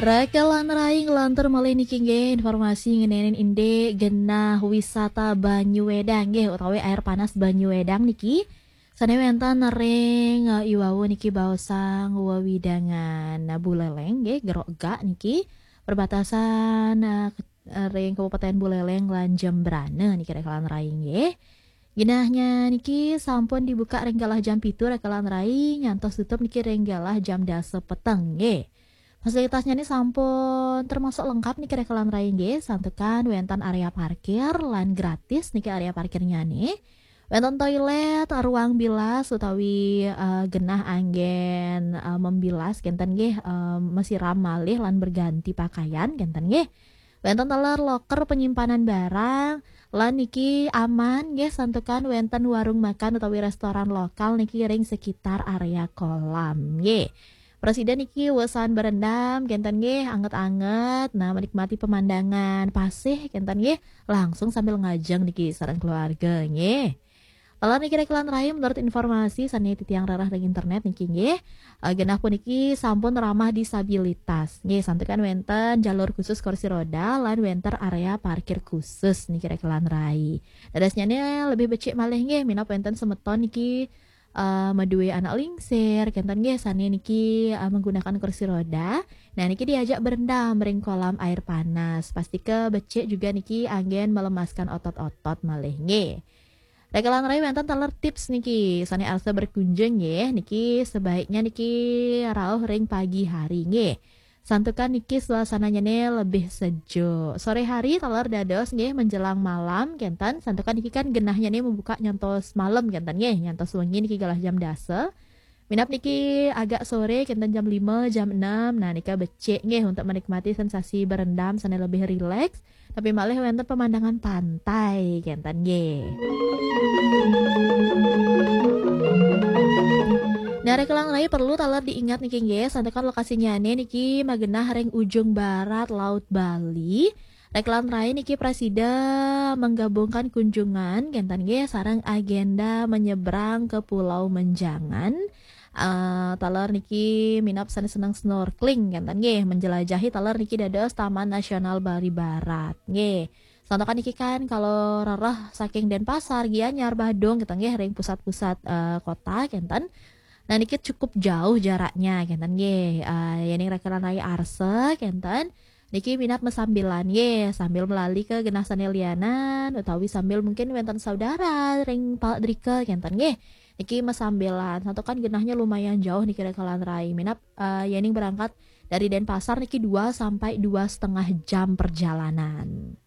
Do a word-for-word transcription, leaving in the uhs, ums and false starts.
Rekelan rai, nglantur malih niki nggih informasi ngeninin indik genah wisata Banyu Wedang nggih, utawi air panas Banyu Wedang niki. Sane wenten ring, eh, iwau niki baosang wewidangan, eh, Buleleng nggih, Gerok Gak niki, perbatasan, eh, ke-, eh, ring Kabupaten Buleleng lan Jembrana niki rekelan rai nggih. Genahnya niki sampun dibuka ring galah jam pitu rekelan rai, nyantos tutup niki ring galah jam dasa peteng nggih. Fasilitasnya ni sampun termasuk lengkap niki rekelan rai nggih, santukan wenten area parkir lan gratis niki area parkirnya ni. Wenten toilet, ruang bilas utawi, eh, genah anggen, eh, membilas kenten nggih, eh, mesiram malih lan berganti pakaian kenten nggih. Wenten taler loker penyimpanan barang, lan niki aman nggih, santukan wenten warung makan utawi restoran lokal niki ring sekitar area kolam nggih. Prasida niki wesan berendam kenten nggih, anget-anget, nah, menikmati pemandangan pasih kenten nggih, langsung sambil ngajeng niki sareng keluarga nggih. Taler niki rekelan rai, menurut informasi sane titiang rereh ring internet niki nggih, eh, genah puniki sampun ramah disabilitas nggih, santukan wenten jalur khusus kursi roda lan wenten area parkir khusus niki rekelan rai. Dadosnyane lebih becik malih nggih, minab wenten semeton niki, eh, madue anak lingsir kenten nggih, sane niki, eh, menggunakan kursi roda. Nah, niki diajak berendam ring kolam air panas. Pastika becik juga niki anggen melemaskan otot-otot malih nggih. Rekelan rai, wenten taler tips niki, sane arsa berkunjung nggih, niki sebaiknya niki rauh ring pagi hari nggih. Santukan niki suasananya ni lebih sejuk. Sore hari taler dados nggih, menjelang malam kenten, santukan niki kan genahnya ni membuka nyantos malam kenten nggih, nyantos wengi niki galah jam dasa. Minab niki agak sore kenten jam lima, jam enam. Nah, nika becik nggih untuk menikmati sensasi berendam sane lebih rileks. Tapi malih wenten pemandangan pantai kenten nggih. Nah, rekelan rai perlu taler diingat niki nggih, santukan lokasinyane niki magenah ring ujung barat Laut Bali. Rekelan rai niki prasida menggabungkan kunjungan kenten nggih sareng agenda menyeberang ke Pulau Menjangan. Eh, taler niki minab sane seneng snorkeling kenten nggih, menjelajahi taler niki dados Taman Nasional Bali Barat nggih. Santukan niki kan kalau rereh saking Denpasar, Gianyar, Badung kenten nggih, ring pusat-pusat, eh, kota kenten. Nah, niki cukup jauh jaraknya kenten nggih. Eh, yening rekelan rai arsa kenten, niki minab mesambilan nggih, sambil melali ke genah sane lianan utawi sambil mungkin wenten saudara ring palak drika kenten nggih. Niki mesambilan, santukan genahnya lumayan jauh niki rekelan rai. Minab, eh, yening berangkat dari Denpasar niki dua sampai dua setengah jam perjalanan.